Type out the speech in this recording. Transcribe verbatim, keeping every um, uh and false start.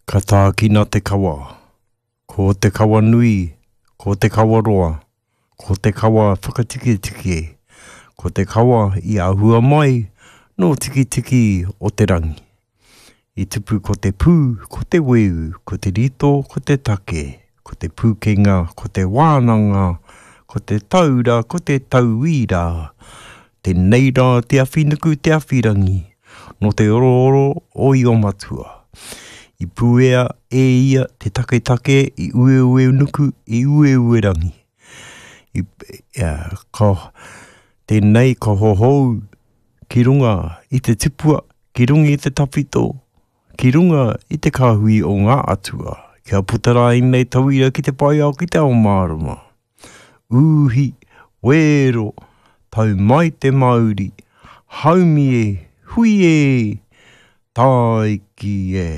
Ka tākina te kawa. Ko te kawa nui, ko te kawa roa, ko te kawa whakatiketike, ko te kawa i ahua mai nō Tikitiki o te rangi. I tupu ko te pū, ko te weu, ko te rito, ko te take, ko te pūkenga, ko te wānanga, ko te taura, ko te tauira. Tēnei rā te awhinuku te awhirangi, nō te orooro o Iomatua. I puea e ia te taketake i Ueuenuku, i Ueuerangi. I, uh, ka, tēnei ka hohou ki runga i te tipua, ki runga i te tawhito, ki runga i te kāhui o ngā atua. Kia puta rā ēnei tauira ki te pae ao ki te ao mārama. Uhi, wero, tau mai te mauri, haumi e, hui e, tāiki e.